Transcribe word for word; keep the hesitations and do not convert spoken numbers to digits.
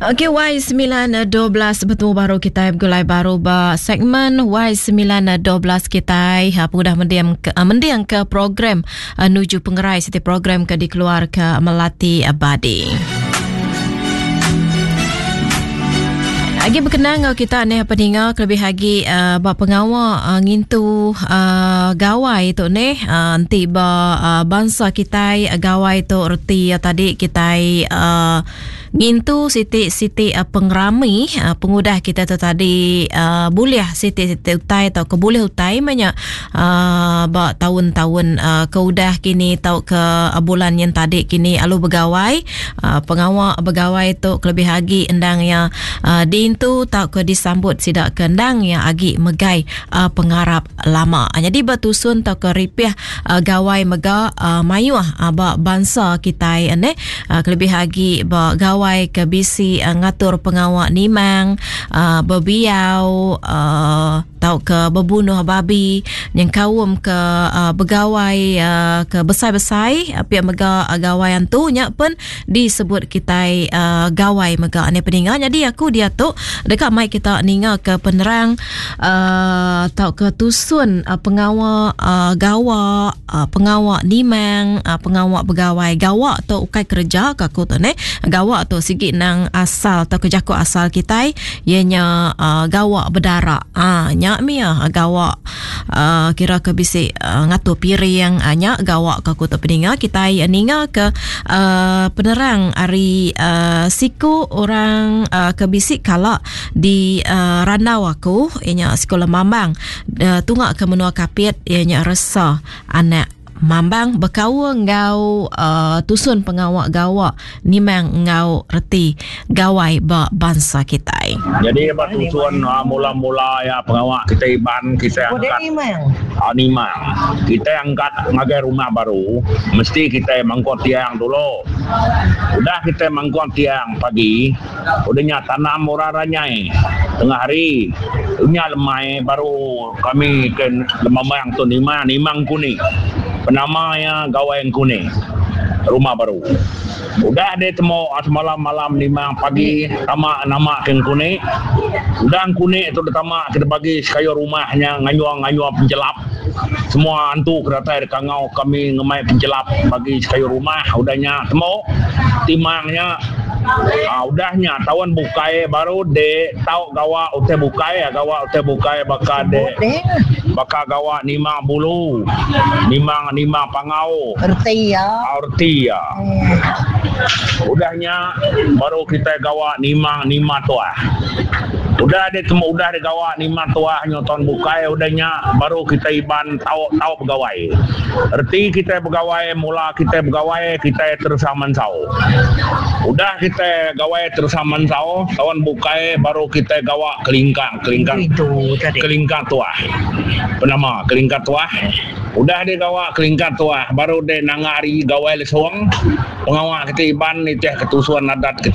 Okey Y sembilan dua belas betemu baru kita begulai baru ba segmen Y sembilan dua belas kita ha, pengudah mendiang ke, mendiang ke program nuju pengerai siti program ke dikeluar ke Melati Abadi. Lagi berkenang kita ni peninga kelebih lagi uh, ba pengawa uh, ngintu uh, gawai tu ni uh, nanti ba uh, bangsa kita gawai tu reti uh, tadi kita uh, ngintu siti-siti uh, pengerami uh, pengudah kita tu tadi uh, boleh siti-siti utai atau ke boleh utai banyak uh, ba tahun-tahun uh, keudah kini atau ke uh, bulan yang tadi kini alu begawai uh, pengawa begawai tu kelebih lagi endang ya uh, di tu tak ke disambut sidak kendang yang agi megai uh, pengarap lama. Jadi bertusun tak ke ripih uh, gawai mega uh, mayuh uh, ba bangsa kita ne uh, kelebih agi ba gawai ke bisi uh, ngatur pengawak nimang uh, berbiau uh, tau ke berbunuh babi yang kaum ke uh, begawai uh, ke besai-besai uh, pihak mega uh, gawai antu nya pun disebut kita uh, gawai mega ne peninga. Jadi aku dia tu dekat mai kita ninga ke penerang uh, tau ke tusun uh, pengawa uh, gawa uh, pengawa nimang uh, pengawa begawai gawa tu ukai kerja ka aku tu ne gawa tu sigi nang asal tau ke jako asal kita ianya uh, gawa berdarak ah uh, nya mia gawa uh, kira ke bisi uh, ngatur piring uh, nya gawa ka aku tu peninga kita ninga ke uh, penerang ari uh, siku orang uh, ke bisi kala di uh, randau aku ianya sekolah mambang uh, tungak ke menua kapit ianya resa anak mambang berkaul ngau uh, tusun pengawak gawak nimang ngau reti gawai ba bangsa kita. Jadi ba tusun uh, mula-mula ya pengawak kita iban kita angkat uh, nimang. Kita angkat ngagai rumah baru mesti kita mangkuk tiang dulu. Udah kita mangkuk tiang pagi, udahnya tanam orang ranyai tengah hari. Nya lemai baru kami ke lemamang tu nimang nimang kuning. Penamanya gawai kuning rumah baru. Udah dia temu semalam malam lima pagi tamak nama ke kuning. Udah kuning tu tamak kita bagi sekayu rumahnya ngayuang-ngayuang penjelap. Semua antu kereta kangau kami ngemai penjelap bagi sekayu rumah. Udahnya temu timangnya. Ah, udahnya tahun bukai baru de tau gawa ute bukai ya gawa ute bukai baka de baka gawa nimang bulu nimang nimang pangau erti ya erti ya udahnya baru kita gawa nimang nimang tuah. Udah ada temu udah ada gawa nimang tuah nyoton bukai udahnya baru kita iban tau tau pegawai. Erti kita pegawai mula kita pegawai kita terus mansau. Udah kita gawai terus mansau tahun bukai baru kita gawa kelingkang kelingkang itu tadi kelingkang tuah. Penama kelingkang tuah. Udah dia gawa kelingkang tuah baru dia nangari gawai lesuang. Pengawak kita iban ni teh ketusuan adat kita